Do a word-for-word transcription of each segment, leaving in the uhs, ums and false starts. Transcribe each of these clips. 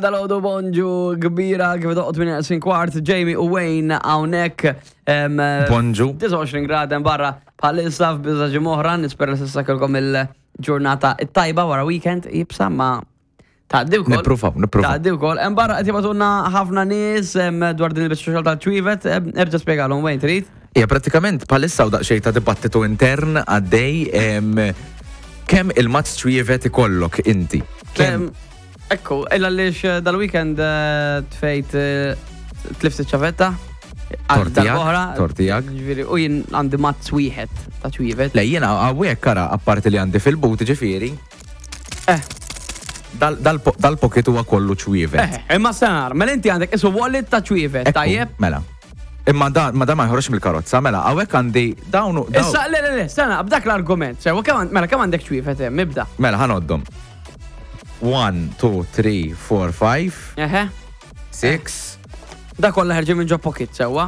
Dalgħodu bonġu kbira, kif doqgħod minn sin kwart, Jamie u Wayne hawnhekk. Bonġu. disgħa u għoxrin grad hemm barra bħalissa f'biżaġi moħra, nispera s'issa kellkom il-ġurnata it-tajba wara weekend iebsa, ma tgħaddi wkoll. Nippruvaw, nippruvaw. Tgħaddi wkoll. Hemm barra qed jibagħtulna ħafna nies em, dwar din il-biċċa xogħol tal-ċwievet, em, erġa' spjegalhom, Wayne, trid? Ija, pratikament bħalissa u daqsxejn ta' dibattitu intern għaddej em, kemm il-mazz ċwievet ikollok inti. Kemm? Em, Ekku, illa għaliex eh, dal-weekend eh, tfejt eh, tlift iċ-ċavetta. Għal Tortijak, darb'oħra. tortijak. Ġifieri, u jien għandi mazz wieħed ta' ċwievet. Le, jiena hawnhekk kara, apparti li għandi fil-but, ġifieri, Eh, dal- dal- dal-pocket huwa kollu ċwievet. eh, imma senar, mela inti għandek isu wallet ta' ċwievet, Ekku, tajjeb? Mela. Imma da, ma da ma jħorġ mill-karozza, mela, hawnhekk għandi dawn dawn- Issa, le, le, le, sena, b'dak l-argument, sewa, kemm għand- mela, kemm għandek ċwievet hemm, ibda. Mela, ħa ngħoddhom. one, two, three, four, five, Eħe, six, da kollha ħerġin minn ġo pocket, sewa.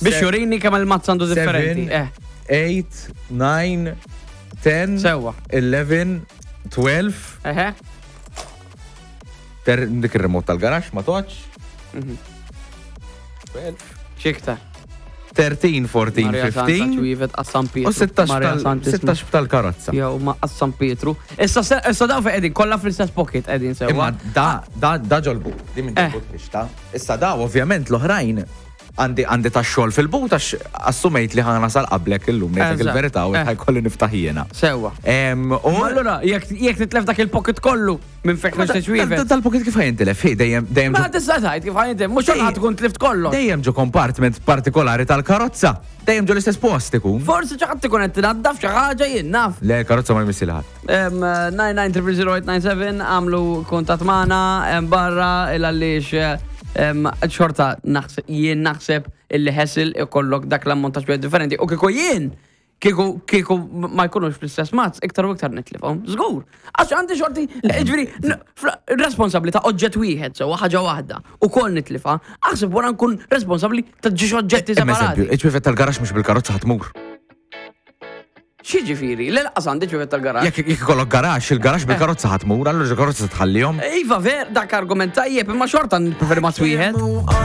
Biex Se- jurini kemm il-mazz għandu differenti. seven, Eh, eight, nine, ten, Sewa. eleven, twelve, eħe. ter dik il-remote tal-garax, ma toċ. Mhm. twelve, Xiktar. thirteen, fourteen, Maria Santa fifteen ċwievet għas-San Pietru. U sittax Maria tal- Santissima. sittax tal-karozza. Jew ma għas-San Pietru. Issa se- issa daw fejn qegħdin kollha fl-istess pocket qegħdin, sewa. Imma da, da, da ġol-but, di minn Eh. ġol-but biex. Issa da, ovvjament, l-oħrajn għandi għandi ta' xogħol fil-but għax assumejt li ħa nasal qablek illum, ngħidlek Eżatt. il-verità, u Eh. ħa jkolli niftaħ jiena. Sewa. Em, U Ma allura jekk jekk titlef dak il-pocket kollu minn fejn Ma da- ħriġt ċwievet. Dal-pocket kif ħa jintilef? Hi, dejjem dejjem Ma ġo- tista' tgħid kif ħa jintilef, mhux ħa tkun tlift kollox. Dejjem ġo compartment partikolari tal-karozza. Dejjem ġo l-istess post ikun. Forsi xi ħadd ikun qed tinaddaf xi ħaġa, jien naf. Le, karozza ma jmissi ħadd. nine nine zero zero eight nine seven, għamlu kuntatt magħna em, barra il għaliex em, xorta naħseb jien naħseb illi ħesil ikollok dak l-ammont ta' xbiet differenti u kieku jien kieku kieku ma jkunux fl-istess mazz, iktar u iktar nitlifhom. Żgur. Għax għandi xorti, ġifieri, responsabbli ta' oġġett wieħed, sewa, ħaġa waħda, u kol nitlifa, aħseb wara nkun responsabbli ta' ġiex oġġetti Eżempju, separati. iċ-ċwievet tal-garax mhux bil-karozza ħa tmur. X'jiġifieri? Le, lanqas għandi ċwievet tal-garax. Jekk jekk ikollok garax, il-garax bil-karozza ħa tmur, allura il-karozza tħallihom. Iva, ver, dak argument tajjeb, imma xorta npreferi mazz wieħed.